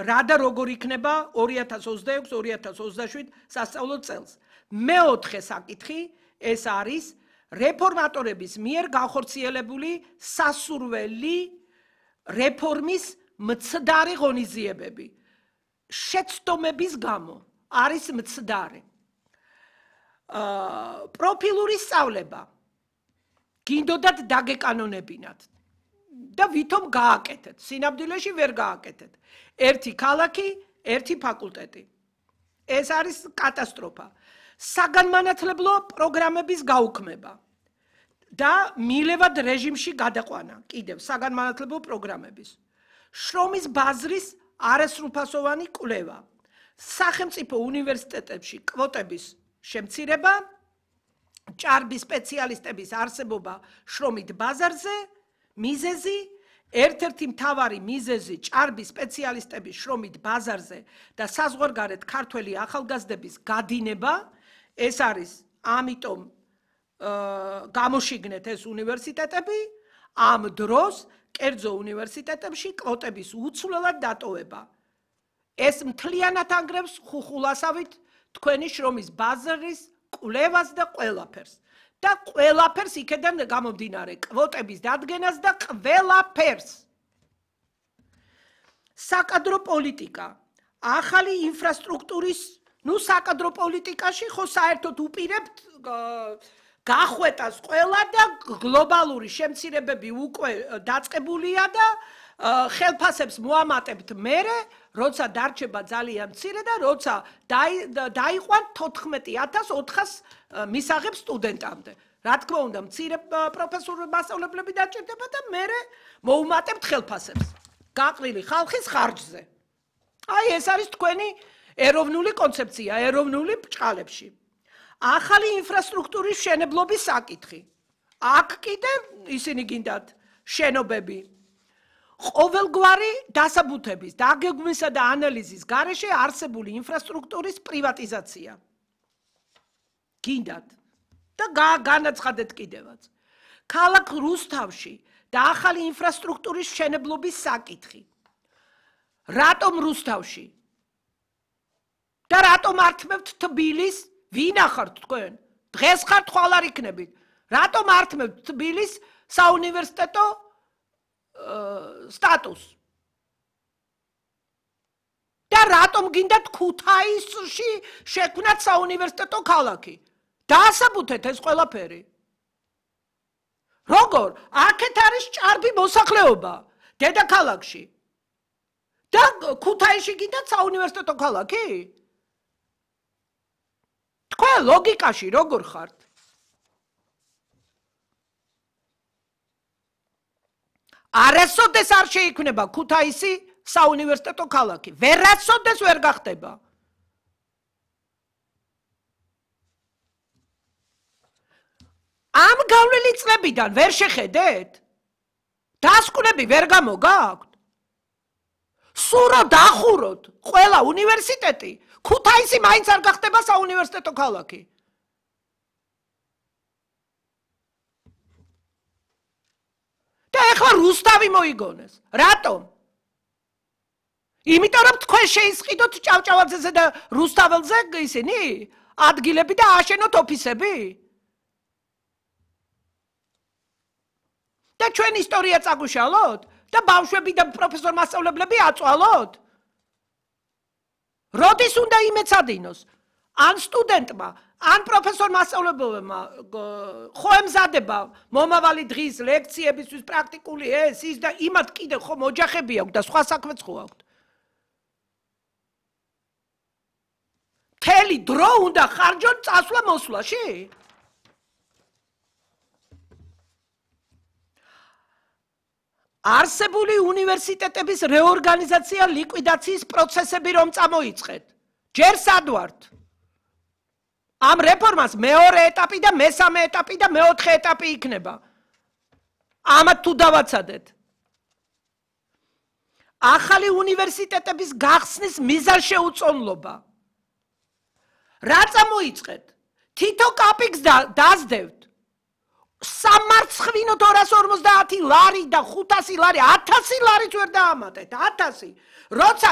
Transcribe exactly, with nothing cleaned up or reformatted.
რა და როგორ იქნება ორი ათას ოცდაექვსი ორი ათას ოცდაშვიდ სასწავლო წელს. მეოთხე საკითხი ეს არის რეფორმატორების მიერ განხორციელებული სასურველი რეფორმის მცდარი ღონისძიებები. შეცდომების გამო არის მცდარი. პროფილური სწავლება გინდოდათ დაგეკანონებინათ და ვითომ გააკეთეთ. სინამდვილეში ვერ გააკეთეთ. ერთი ქალაქი, ერთი ფაკულტეტი. ეს არის კატასტროფა. საგანმანათლებლო პროგრამების გაუქმება და მილევად რეჟიმში გადაყვანა კიდევ საგანმანათლებლო პროგრამების. შრომის ბაზრის არასრულფასოვანი კვლევა. სახელმწიფო უნივერსიტეტებში კვოტების შემცირება, ჭარბი სპეციალისტების არსებობა შრომით ბაზარზე, მიზეზი, ერთ-ერთი მთავარი მიზეზი ჭარბი სპეციალისტების შრომით ბაზარზე და საზღვარგარეთ ქართველი ახალგაზრდების გადინება, ეს არის ამიტომ გამოშიგნეთ ეს უნივერსიტეტები, ამ დროს კერძო უნივერსიტეტებში კვოტების უცვლელად დატოვება. ეს მთლიანად ანგრევს ხუხულასავით თქვენი შრომის ბაზრის კვლევას და ყველაფერს. და ყველაფერს იქედან გამომდინარე კვოტების დადგენას და ყველაფერს. საკადრო პოლიტიკა, ახალი ინფრასტრუქტურის, ნუ საკადრო პოლიტიკაში ხო საერთოდ უპირებთ გახვეტას ყველა და გლობალური შემცირებები უკვე დაწყებულია და ხელფასებს მოამატებთ მერე, როცა დარჩება ძალიან მცირე და როცა დაიყვან თოთხმეტი ათას ოთხას მისაღებ სტუდენტამდე. რა თქმა უნდა, მცირე პროფესორ მასწავლებლები დაჭირდება და მერე მოუმატებთ ხელფასებს. გაყრილი ხალხის ხარჯზე. აი ეს არის თქვენი ეროვნული კონცეფცია, ეროვნული ბრჭყალებში. ახალი ინფრასტრუქტურის მშენებლობის საკითხი. აქ კიდევ ისინი გინდათ შენობები. ყოველგვარი დასაბუთების, დაგეგმვისა და ანალიზის გარეშე არსებული ინფრასტრუქტურის პრივატიზაცია. გინდათ და განაცხადეთ კიდევაც. ქალაქ რუსთავში და ახალი ინფრასტრუქტურის მშენებლობის საკითხი. რატომ რუსთავში? და რატომ ართმევთ თბილის? ვინ ახართ თქვენ? დღეს ხართ, ხვალ არ იქნებით. რატომ ართმევთ თბილის საუნივერსიტეტო სტატუს? და რატომ გინდათ ქუთაისში შექმნათ საუნივერსიტეტო ქალაქი? დაასაბუთეთ ეს ყველაფერი. როგორ? აქეთ არის ჭარბი მოსახლეობა დედაქალაქში. და ქუთაისში გინდათ საუნივერსიტეტო ქალაქი? თქვენ ლოგიკაში როგორ ხართ? არასოდეს არ შეიქმნება ქუთაისი საუნივერსიტეტო ქალაქი. ვერასოდეს ვერ გახდება. ამ გავლილი წლებიდან ვერ შეხედეთ? დასკვნები ვერ გამოგაქვთ? სურო დახუროთ ყველა უნივერსიტეტი, ქუთაისი მაინც არ გახდება საუნივერსიტეტო ქალაქი. და ეხლა რუსთავი მოიგონეს. რატომ? იმიტომ რომ თქვენ შეისყიდოთ ჭავჭავაძეზე და რუსთაველზე ისინი ადგილები და ააშენოთ ოფისები. და ჩვენ ისტორია წაგუშალოთ და ბავშვები და პროფესორ მასწავლებლები აწვალოთ. როდის უნდა იმეცადინოს? ან სტუდენტმა, ან პროფესორ მასწავლებელმა ხო ემზადება მომავალი დღის ლექციებისთვის პრაქტიკული ეს ის და იმათ კიდე ხომ ოჯახები აქვს და სხვა საქმეც ხო აქვს. მთელი დრო უნდა ხარჯოთ წასვლა-მოსვლაში? არსებული უნივერსიტეტების რეორგანიზაცია ლიკვიდაციის პროცესები რომ წამოიწყეთ. ჯერ სად ვართ? ამ რეფორმას მეორე ეტაპი და მესამე ეტაპი და მეოთხე ეტაპი იქნება. ამათ თუ დავაცადეთ. ახალი უნივერსიტეტების გახსნის მიზანშეუწონლობა. რა წამოიწყეთ? თითო კაპიკს დაზდევთ. სამარცხვინოთ ორას ორმოცდაათი ლარი და ხუთასი ლარი, ათასი ლარიც ვერ დაამატეთ, ათასი. როცა